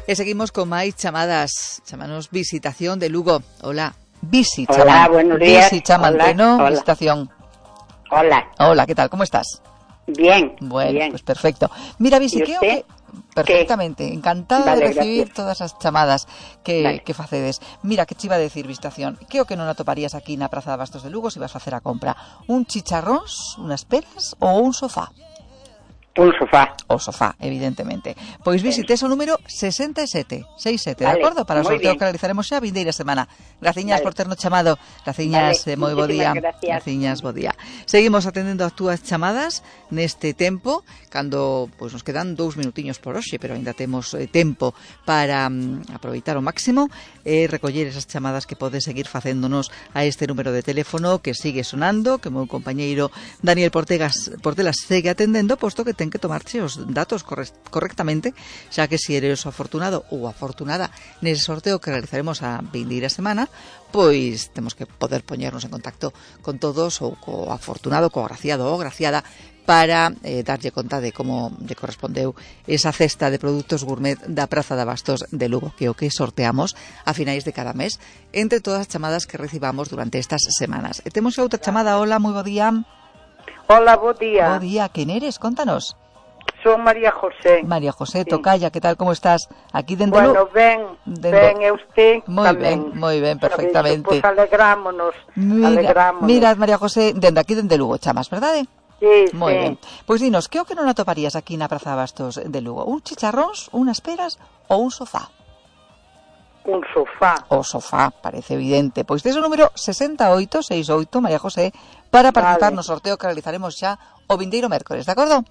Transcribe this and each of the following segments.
E seguimos con máis chamadas. Chamanos Visitación de Lugo. Hola. Hola, buenos días. Chamante, Hola, ¿no? hola. Visitación. Hola. Hola, ¿qué tal? ¿Cómo estás? Bien. Bueno, bien. pues perfecto. Mira, Visi, ¿Y usted? Perfectamente, encantada Vale, de recibir gracias. todas as chamadas Vale. que facedes. Mira, que chiva a decir, Visitación, que o que non atoparías aquí na Praza de Bastos de Lugo se vas a facer a compra? Un chicharróns, unhas peras ou un sofá? Un sofá. O sofá, evidentemente. Pois visites o número 67, Vale, de acordo? Para o moi sorteo bien. que realizaremos xa a vindeira semana. Graciñas Vale. por ternos chamado. Graciñas, Vale, moi bo día. moitísimas gracias. Graciñas, bo día. Seguimos atendendo as túas chamadas neste tempo, cando pois nos quedan 2 minutiños por hoxe, pero ainda temos tempo para aproveitar ao máximo e recoller esas chamadas que podes seguir facéndonos a este número de teléfono que sigue sonando, que o meu compañeiro Daniel Portelas segue atendendo, posto que ten que tomarche os datos correctamente, xa que se eres o afortunado ou afortunada nese sorteo que realizaremos a vindeira semana, pois temos que poder poñernos en contacto con todos ou co afortunado, co agraciado ou agraciada para darlle conta de como lle correspondeu esa cesta de produtos gourmet da Praza de Bastos de Lugo, que é o que sorteamos a finais de cada mes entre todas as chamadas que recibamos durante estas semanas. E temos outra chamada. Hola, moi bo día. Hola, bo día. Bo día, quen eres? Contanos. Son María José. María José, Sí. Tocaya, que tal, como estás? Aquí dende Bueno, ben, e usted moi tamén. ben, perfectamente. Pois alegrámonos. Mira, María José, aquí dende Lugo chamas, verdade? Sí, Moi sí. ben. Pois dinos, que o que non atoparías aquí na Praza de Bastos de Lugo? Un chicharróns, unhas peras ou un sofá? Un sofá. O sofá, parece evidente. Pois tes o número 6868, María José, para participar no sorteo que realizaremos xa o vindeiro mércores, de acordo?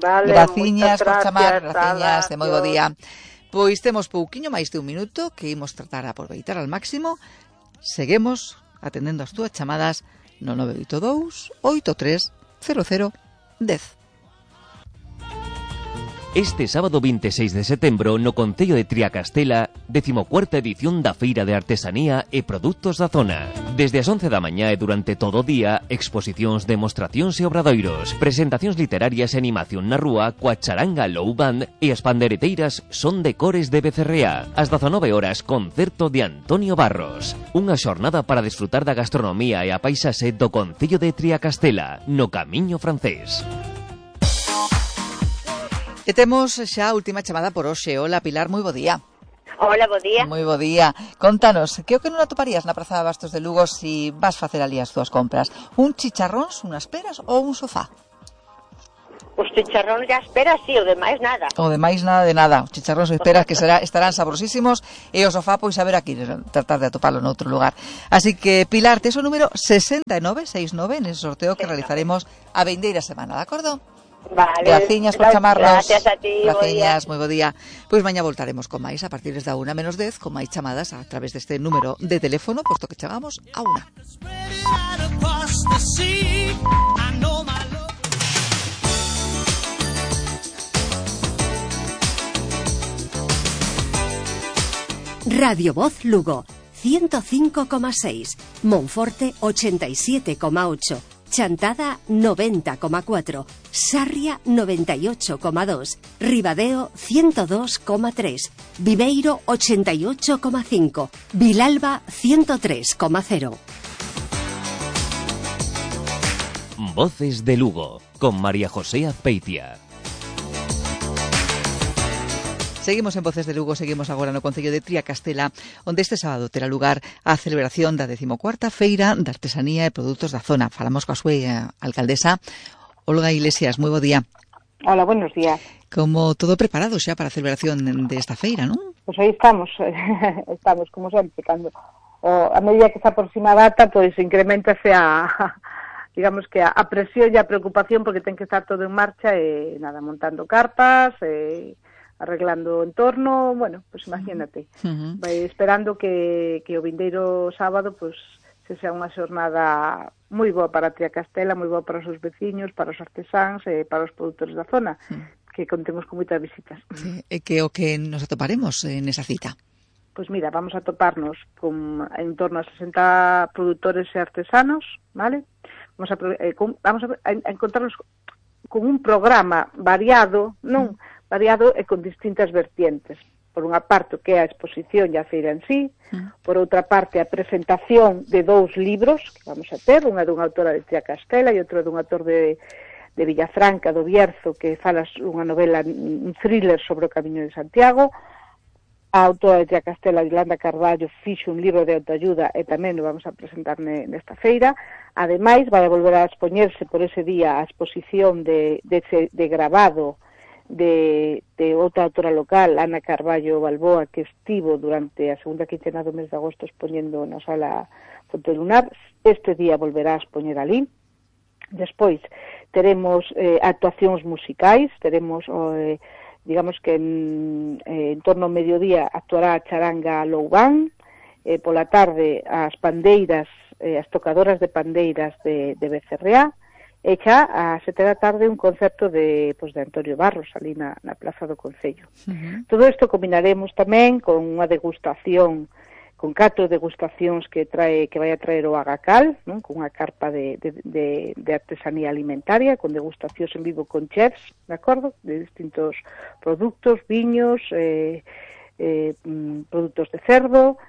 Vale, Graciñas por moitas chamar, gracias, graciñas, de moi bo adiós. día. Pois temos pouquiño máis de un minuto que imos tratar a aproveitar al máximo. Seguimos atendendo as túas chamadas no 982 83 00 10. Este sábado 26 de setembro no Concello de Triacastela, 14ª edición da Feira de Artesanía e Produtos da Zona. Desde as 11 da mañá e durante todo o día, exposicións, demostracións e obradoiros, presentacións literarias e animación na rúa coa charanga Low Band e as pandereteiras Son de Cores de Becerrea. Ás 19 horas, concerto de Antonio Barros. Unha xornada para desfrutar da gastronomía e a paisaxe do Concello de Triacastela, no Camiño Francés. E temos xa a última chamada por hoxe. Hola, Pilar, moi bo día. Hola, bo día. Moi bo día. Contanos, que o que non atoparías na Praza de Bastos de Lugo si vas facer ali as túas compras? Un chicharróns, unhas peras ou un sofá? Os chicharróns e as peras, sí, o demais nada. O demais nada de nada. Os chicharróns e peras que estarán sabrosísimos e o sofá, pois a ver aquí, tratar de atopalo noutro lugar. Así que, Pilar, tes o número 6969 nese sorteo que realizaremos a vindeira semana, de acordo? Vale. Graciñas por chamarnos. Gracias a ti, Graciñas, moi bo día. Pois mañá voltaremos con máis a partir da 1:10 con máis chamadas a través deste número de teléfono, posto que chegamos a 1. Radio Voz Lugo, 105,6, Monforte 87,8, Chantada 90,4, Sarria 98,2, Ribadeo 102,3, Viveiro 88,5, Vilalba 103,0. Voces de Lugo, con María José Azpeitia. Seguimos en Voces de Lugo, seguimos agora no Concello de Triacastela, onde este sábado terá lugar a celebración da 14ª Feira de Artesanía e Produtos da Zona. Falamos coa súa alcaldesa, Olga Iglesias. Moi bo día. Hola, buenos días. Como todo preparado xa para a celebración desta feira, non? Pois aí estamos, como sempre, cando a medida que se aproxima a data, pois incrementase digamos que a presión e a preocupación, porque ten que estar todo en marcha e nada, montando carpas, arreglando o entorno, bueno, pues imagínate. Vai esperando que o vindeiro sábado pues se sea unha xornada moi boa para Triacastela, moi boa para os seus veciños, para os artesáns e para os produtores da zona, que contemos con moitas visitas. Sí, e que o que nos atoparemos nesa cita? Pois mira, vamos a toparnos con en torno a 60 produtores e artesanos, vale? Vamos a encontrarnos con un programa variado, non? Variado e con distintas vertientes. por unha parte, que é a exposición e a feira en sí, por outra parte, a presentación de 2 libros que vamos a ter, unha dunha autora de Tria Castela e outra dun autor de Villafranca, do Bierzo, que fala unha novela, un thriller sobre o Camiño de Santiago. A autora de Tria Castela, Yolanda Carballo, fixo un libro de autoayuda e tamén o vamos a presentar nesta feira. Ademais, vai a volver a expoñerse por ese día a exposición de grabado de outra autora local, Ana Carballo Balboa, que estivo durante a segunda quincena do mes de agosto expoñendo na sala Fonte Lunar. Este día volverá a expoñer ali. Despois teremos actuacións musicais, teremos digamos que en torno ao mediodía actuará a charanga Loubán, pola tarde as pandeiras, as tocadoras de pandeiras de Becerreá, e xa a 7 da tarde un concerto de Antonio Barros, ali na Plaza do Concello. Todo isto combinaremos tamén con unha degustación, con 4 degustacións que vai a traer o Agacal, non? Con unha carpa de artesanía alimentaria, con degustacións en vivo con chefs, de acordo? De distintos produtos, viños, produtos de cerdo,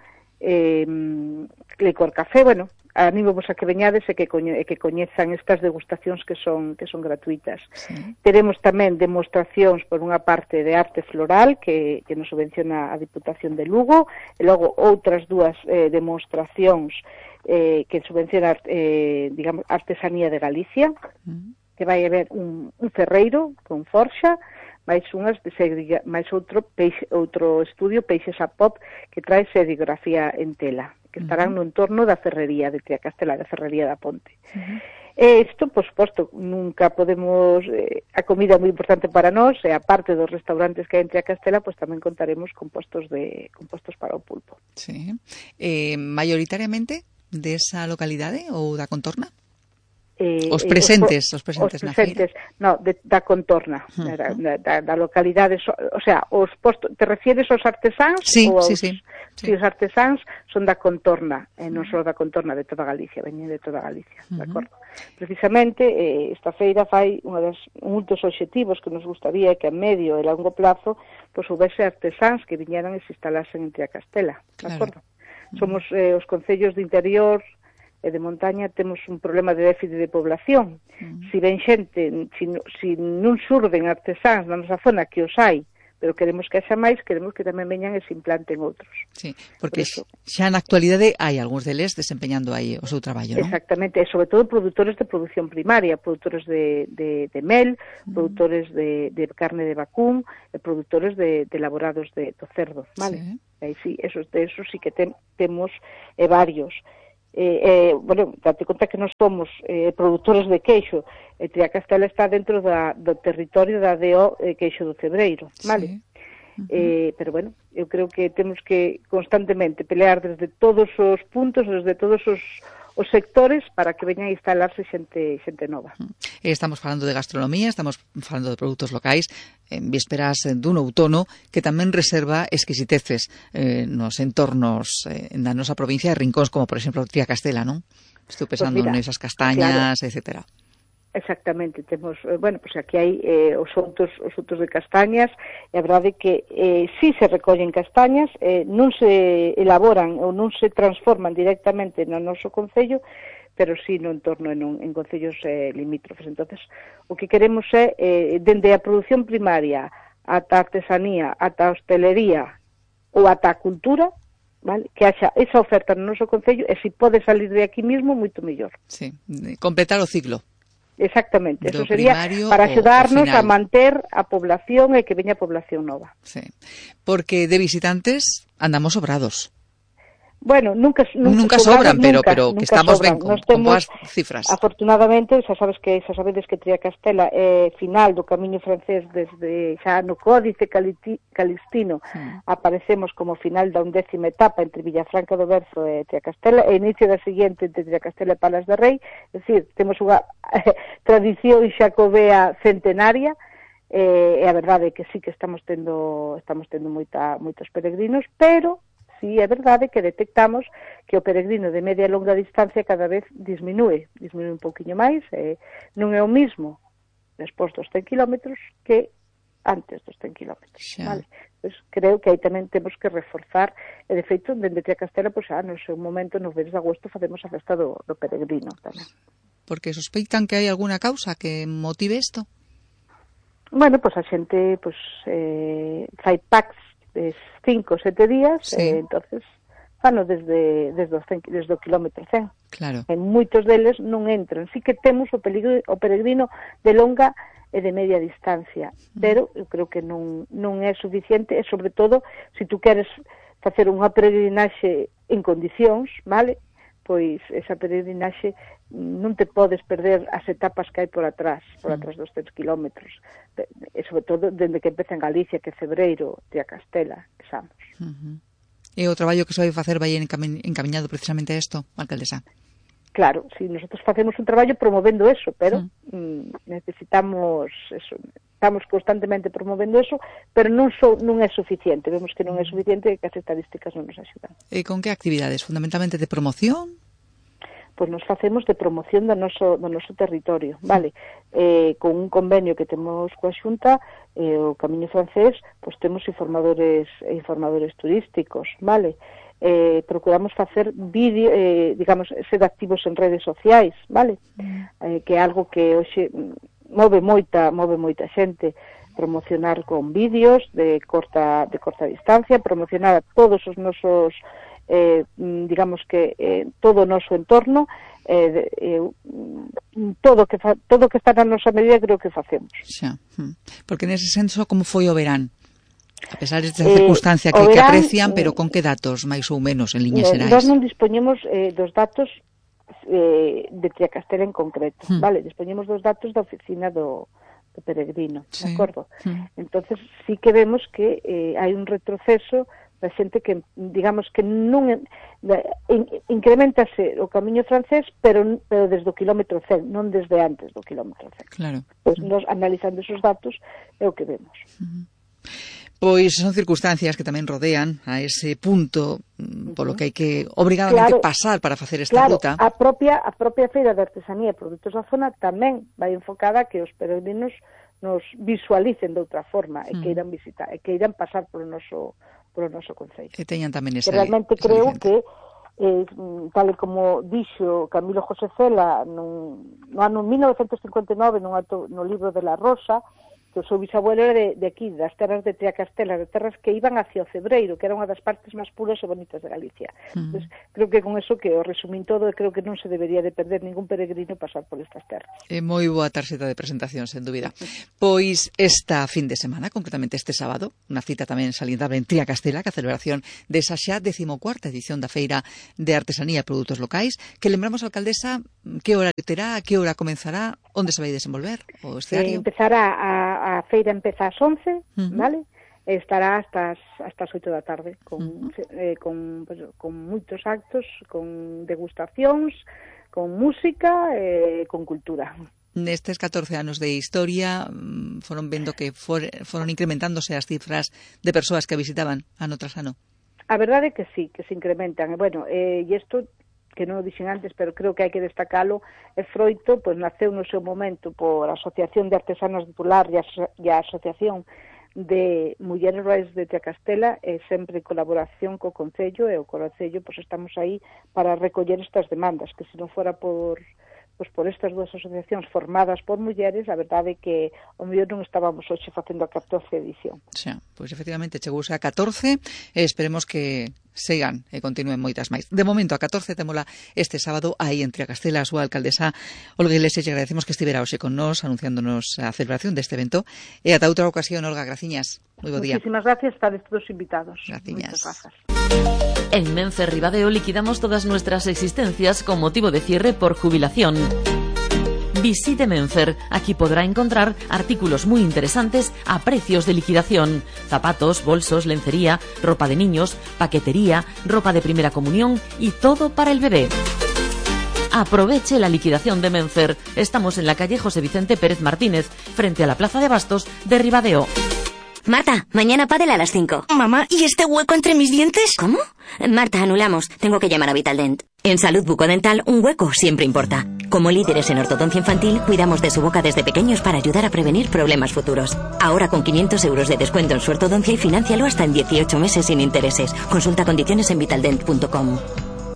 licor café, bueno, animo vos a que veñades e que coñezan estas degustacións que son gratuitas. Sí. Teremos tamén demostracións por unha parte de arte floral que nos subvenciona a Diputación de Lugo, e logo outras 2 demostracións que subvenciona digamos, artesanía de Galicia, que vai haber un ferreiro con forxa, máis outro estudio, Peixes a Pop, que trae serigrafía en tela, que estarán no entorno da ferrería de Tria Castela, da ferrería da Ponte. Isto, por suposto, nunca podemos... a comida é moi importante para nós, e aparte dos restaurantes que hai en Tria Castela, pues tamén contaremos con postos para o pulpo. Sí. Maioritariamente desa localidade ou da contorna? Os presentes na feira. No, da contorna, da localidade, o sea, os postos, te refieres aos artesáns? Sí. Si os artesáns son da contorna, non só da contorna, de toda Galicia, veñen de toda Galicia, de acordo? Precisamente, esta feira fai un dos obxectivos que nos gustaría que a medio e longo plazo pois houvese artesáns que viñeran e se instalasen en Tria Castela, de acordo? Somos os concellos de interior e de montaña temos un problema de déficit de población. Si ven xente, si non surden artesáns na nosa zona, que os hai, pero queremos que haxa máis, queremos que tamén veñan e se implanten outros. Sí, porque xa na actualidade hai algúns deles desempeñando aí o seu traballo, non? Exactamente, e sobre todo produtores de produción primaria, produtores de mel, produtores de carne de vacún, e produtores de elaborados do cerdo, vale? Sí, esos sí que temos varios. Bueno, date conta que nós somos produtores de queixo, e Tria Castela está dentro do territorio da DO Queixo do Cebreiro, vale? Pero bueno, eu creo que temos que constantemente pelear desde todos os puntos, desde todos os sectores, para que veñan a instalarse xente nova. Estamos falando de gastronomía, estamos falando de produtos locais, en vísperas dun outono que tamén reserva exquisiteces nos entornos na nosa provincia de rincóns, como por exemplo Tria Castela, non? Estou pensando nesas castañas, claro, etcétera. Exactamente, temos, bueno, pois aquí hai os outos de castañas, e a verdade é que si se recollen castañas, non se elaboran ou non se transforman directamente no noso concello, pero si no entorno en concellos limítrofes. Entonces, o que queremos é, dende a produción primaria ata a artesanía, ata a hostelería ou ata a cultura, vale, que haxa esa oferta no noso concello, e se pode salir de aquí mismo, moito mellor. Sí, completar o ciclo. Exactamente, eso sería para axudarnos a manter a población e que veña a población nova. Sí, porque de visitantes andamos sobrados. Bueno, nunca sobran, pero que estamos ben con boas cifras. Afortunadamente, xa sabedes que Tria Castela é final do camiño francés desde xa no Códice Calistino. Aparecemos como final da 11ª etapa entre Villafranca do Berzo e Tria Castela, e inicio da seguinte entre Tria Castela e Palas de Rei, é dicir, temos unha tradición xacobea centenaria, e a verdade é que sí que estamos tendo moitos peregrinos, pero sí, é verdade que detectamos que o peregrino de media e longa distancia cada vez disminúe un pouquiño máis, non é o mismo despois dos 100 kilómetros que antes dos 100 kilómetros, vale? Pois creo que aí tamén temos que reforzar, e de feito, dende Triacastela, pois no seu momento, nos meses de agosto, facemos a festa do peregrino tamén. Porque sospeitan que hai alguna causa que motive isto? Bueno, pois a xente fai packs de 5 ou 7 días, entonces fano desde o kilómetro 100. Claro. En moitos deles non entran. Sí que temos o peregrino de longa e de media distancia, pero eu creo que non é suficiente, e sobre todo, se tú queres facer unha peregrinaxe en condicións, vale? Pois esa peregrinaxe non te podes perder as etapas que hai por atrás dos 100 kilómetros, e sobre todo dende que empeza en Galicia, que é febreiro, Triacastela, que Samos. E o traballo que se vai facer vai encamiñado precisamente a isto, alcaldesa? Claro, si nosotros facemos un traballo promovendo eso, pero necesitamos eso, estamos constantemente promovendo eso, pero non é suficiente, vemos que non é suficiente e que as estadísticas non nos axudan. E con que actividades? Fundamentalmente de promoción? Pois nos facemos de promoción do noso territorio, vale? Con un convenio que temos coa Xunta, o Camiño Francés, pois temos informadores turísticos, vale? Procuramos facer vídeo, digamos, ser activos en redes sociais, vale? Que é algo que hoxe move moita xente, promocionar con vídeos de corta distancia, promocionar a todos os nosos digamos que todo o noso entorno, todo que está na nosa medida, creo que facemos. Xa. Porque nese senso, como foi o verán? A pesar desta circunstancia que aprecian, pero con que datos, máis ou menos, en liñas xerais? Nós non dispoñemos dos datos de Triacastela en concreto, vale? Dispoñemos dos datos da oficina do peregrino, de acordo? Entonces sí que vemos que hai un retroceso da xente que, digamos, que non incrementase o Camiño Francés, pero desde o kilómetro 100, non desde antes do kilómetro 100. Claro. Pois nos, analizando esos datos, é o que vemos. Pois son circunstancias que tamén rodean a ese punto polo que hai que obrigadamente pasar para facer esta ruta. A propia Feira de Artesanía e Produtos da Zona tamén vai enfocada a que os peregrinos nos visualicen de outra forma e queiran visitar, e queiran pasar polo noso concello. Que teñan tamén esa realmente creo que tal como dixo Camilo José Cela no ano 1959 no libro de La Rosa, que o seu bisabuelo era de aquí, das terras de Triacastela, de terras que iban hacia o Cebreiro, que era unha das partes máis puras e bonitas de Galicia. Entonces, creo que con eso que o resumín todo, creo que non se debería de perder ningún peregrino pasar por estas terras. É moi boa tarxeta de presentación, sen dúbida. Pois esta fin de semana, concretamente este sábado, unha cita tamén salientable en Triacastela, que a celebración desa xa 14ª edición da Feira de Artesanía e Produtos Locais, que lembramos, alcaldesa, que horario terá, que hora comenzará, onde se vai desenvolver o escenario? Empezará a feira empeza ás 11, vale? E estará hasta as 8 da tarde con moitos actos, con degustacións, con música e con cultura. Nestes 14 anos de historia foron vendo que foron incrementándose as cifras de persoas que visitaban ano tras ano. A verdade é que sí, que se incrementan. E bueno, e isto que non o dixen antes, pero creo que hai que destacalo, é froito, pois naceu no seu momento por a Asociación de Artesanos de Pular e a Asociación de Mulleres Rurais de Triacastela, e sempre en colaboración co Concello, e o Concello pois estamos aí para recoller estas demandas, que se non fora por estas dúas asociacións formadas por mulleres, a verdade é que o mellor non estábamos hoxe facendo a 14ª edición. Xa, pois efectivamente chegouse a 14 e esperemos que sigan e continúen moitas máis. De momento a 14 témola este sábado aí en Triacastela. A súa alcaldesa Olga Iglesias, lle agradecemos que estivera hoxe con nós anunciándonos a celebración deste evento, e ata outra ocasión. Olga, graciñas. Moi bo día. Muchísimas gracias, estades todos invitados. Graciñas. Muchas gracias. En Menfer Ribadeo liquidamos todas nuestras existencias con motivo de cierre por jubilación. Visite Menfer. Aquí podrá encontrar artículos muy interesantes a precios de liquidación. Zapatos, bolsos, lencería, ropa de niños, paquetería, ropa de primera comunión y todo para el bebé. Aproveche la liquidación de Menfer. Estamos en la calle José Vicente Pérez Martínez, frente a la Plaza de Bastos de Ribadeo. Marta, mañana pádel a las 5. Mamá, ¿y este hueco entre mis dientes? ¿Cómo? Marta, anulamos. Tengo que llamar a Vitaldent. En Salud Bucodental, un hueco siempre importa. Como líderes en ortodoncia infantil, cuidamos de su boca desde pequeños para ayudar a prevenir problemas futuros. Ahora con 500 euros de descuento en su ortodoncia y financialo hasta en 18 meses sin intereses. Consulta condiciones en vitaldent.com.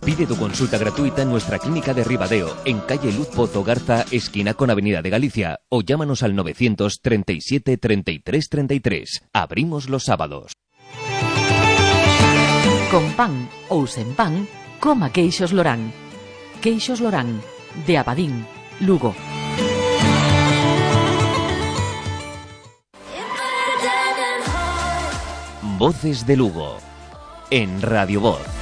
Pide tu consulta gratuita en nuestra clínica de Ribadeo, en calle Luz Pozo Garza, esquina con Avenida de Galicia, o llámanos al 937 33 33. Abrimos los sábados. Con pan ou sen pan, coma queixos Lorán. Queixos Lorán, de Abadín, Lugo. Voces de Lugo, en Radio Voz.